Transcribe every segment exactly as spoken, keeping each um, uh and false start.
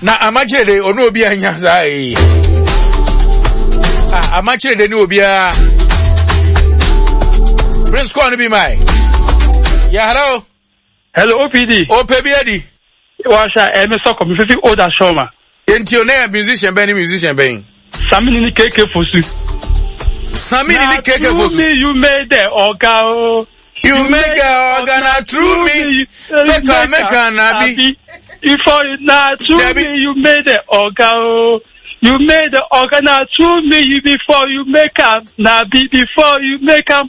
Na amakyerɛ de ɔne obi anya saa yi. Ah, amakyerɛ de ne obiara. Prince call no bi mae. Yeah, hello. Hello, O P D. Opɛ bi adi. Washa, eh, me sɔkɔ, me fifi old ashoma. Enti o na musician bɛn ne musician bɛn? Samini ni K K Fosu. Samini ni K K Fosu. Me, you made the oga o. You make a organ na through me. Make a make a nabi. Before you na through Debbie. Me, you made the oga o. You made the oga na through me. You before you make am na be before you make am.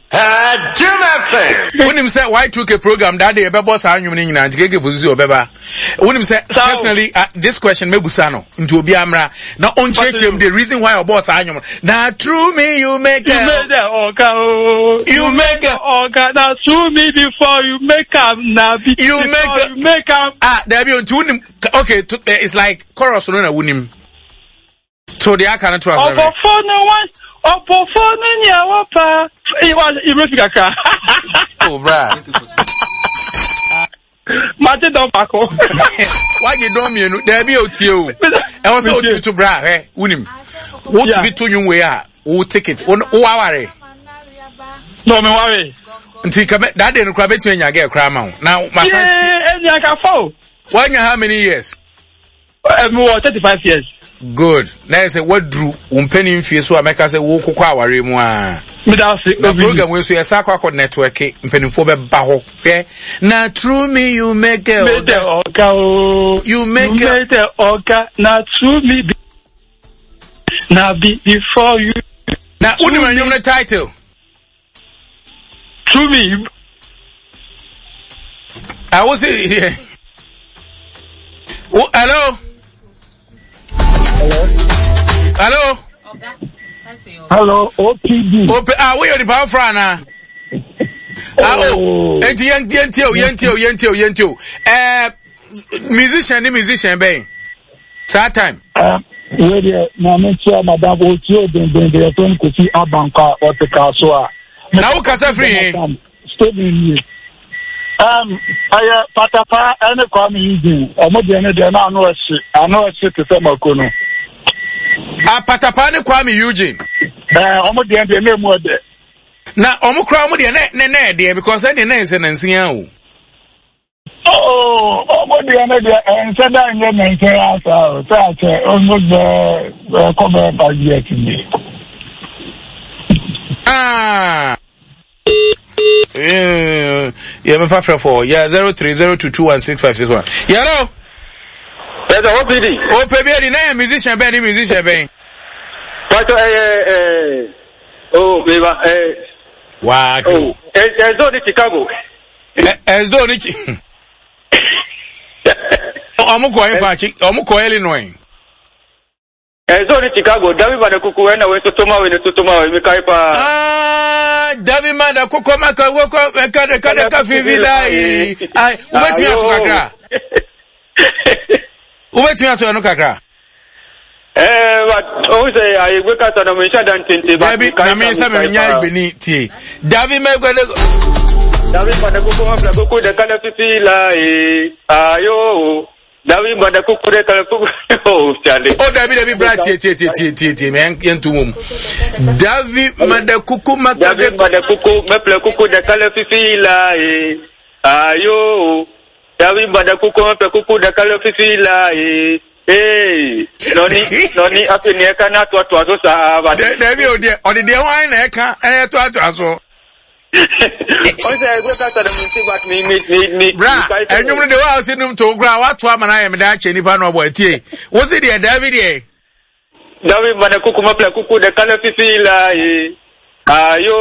Jim F M. Wonim sɛ Y two K program that day ɛbɛbɔ saa nnwom no nyinaa, nti K K Fosu sɛ ɔbɛba. Wonim sɛ Saa o. personally, uh, this question mɛbusa no, nti obi amra na ɔnkyerɛkyerɛ mu the reason why ɔbɔɔ saa nnwom no. Na through me you make You a made the oga o. You make a oga na through me before you make am na be You before make a you make am. Ah, dabi, nti wonim, okay, to, eh, it's like chorus no na wonim. To deɛ aka no to asɛm. Ɔbɔfo no wa ɔbɔfo no nea wɔpa wa ibrɛ fi kakra. Oh, bra. Mate dɔn baako. Wagye dɔn mmienu. Dabi, otie o. Ɛwɔ sɛ wotumi to bra hwɛ, wonim. Wotumi to nnwom wei a, wo ticket, wo wo aware. Na ɔmi ware. Nti ka bɛ- that day no koraa bɛtumi anya girl koraa ma wo. Na masan ti. Yee, ɛni akafo o. Wanya how many years? Ɛmi wɔ thirty five years. Good. Na yɛ sɛ waduru wo mpanin mfie so a mɛka sɛ wo kokɔ aware mu a. Mi da ase. Na program wei so yɛsa akɔ akɔ network, mpanimfoɔ bɛba hɔ. Hwɛ. Na through me you make a Made the oga o. You make You a made the oga na through me be na be before you Na wonim anwom no title? Through me. I was say oh, hello? Hello. Hello? Hello, O P D. Ope, ah, woyɛ nipa foforɔ anaa? Ah, oh, enti yɛn yɛntie o, yɛntie o, yɛntie o, yɛntie o. Ɛɛ, musician ne musician bɛn? Saa time. Um, wei deɛ, maame nkyia madam otie o dendenden, yɛfrɛ no Kofi Abankɔ a ɔte kaa so a. Na wo kasa firi he? Stephen nie. Um, ɛyɛ Patapa ɛne Kwame Eugene. Ɔmo deɛ ne deɛ na ano ɛhye, ano ɛhye te sɛ mako no. Ah, Patapa ne Kwame Eugene. Ɛɛ, ɔmo deɛ deɛ na emu ɛdɛ. Na ɔmo kora ɔmo deɛ ne ne ne ɛdeɛ because ɛdeɛ ne nsɛ nansia o. Oh, ɔmo deɛ ne deɛ ɛnsɛ da nyɛ nansia asa o. Sɛ akyɛ almost bɛɛ ɛkɔ bɛɛ five years nie. Ah. Yeah, me fa frɛ fɔ. Yeah, zero three zero two two one six five six one. Yɛrɛ. Yɛsɛ O P D. Ope bi edi na yɛ musician bɛn ne musician bɛn? Pàtó ɛyɛ ɛɛ oh meba ɛɛ. Waa. Oh, Ɛzdo ne Chicago. Ɛzdo ne Chi. Ɔmo kɔ ɛnfa Chi, ɔmo kɔ Illinois. Ɛzdo ne Chicago, Dabi Bada Kuku ɛna wei totoma wei ne totoma wei mi kae paa. Ah, Dabi Mada Koko Maka Woko Meka de Ka de Ka Fifi Lai. Ai, wobɛtumi ato kakra? Wobɛtumi ato ɛno kakra? Ɛɛ, but o sɛ ayegbe kasa na mo nhyɛ da ntente ba. Dabi, na me nsa me nya igbeni tie. Dabi Meka de Dabi Bada Kuku ma fila kuku de kala fifi lai. Ayo. Dabi Bada Kuku de kala kuku. Oh, chale. Oh, dabi dabi, bra, tie tie tie tie tie tie me yɛn mom. Dabi Mada Kuku Maka Dabi de Bada Kuku ma fila kuku de kala fifi lai. Ayo. Dabi Bada Kuku ma fila kuku de kala fifi lai. Ee, nɔni nɔni afei nea ɛka na atoatoa so saa ba. Dabi o deɛ ɔde deɛ wɔn na ɛka ɛyɛ to ato so. Ɔsɛ ɛgbɛ kasa na mo nti but mi mi mi mi. Bra, ɛnwom no de wa ɔsi num to nkura wato ama na ayɛ mi da akyɛ nipa na ɔbɔ etie. Wosi deɛ dabi deɛ. Dabi Bada Kuku ma fila kuku de kala fifi lai. Ayo.